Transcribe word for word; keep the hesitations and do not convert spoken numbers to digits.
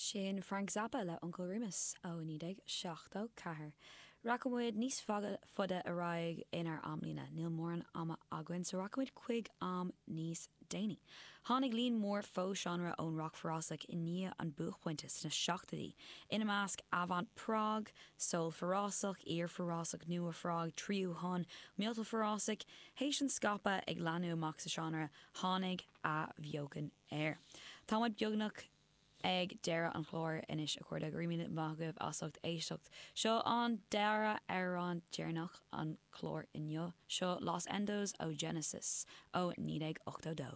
Sin Frank Zappa le Uncle Remus ó naoi déag seachtó ceathair. Rachaimid níos faide ar aghaidh inár amlíne, níl mórán ama againn so rachaimid chuig am níos déanaí. Tháinig líon mór fo-seánra ón rock forásach i ndiaidh an buaicphointe sna seachtóidí. Ina measc avant prog, soul forásach, iar-forásach nua-phrog, tríú thonn, miotal forásach, théis an scaipeadh ag leathnú amach sa seánra, tháinig athbheochan air. Táimid beagnach ag deireadh an chláir anois a chairde go raibh míle maith agaibh as ucht éisteacht. Seo an dara amhrán deireanach an chlár inniu, seo Los Endos ó Genesis ó naoi déag ochtó dó.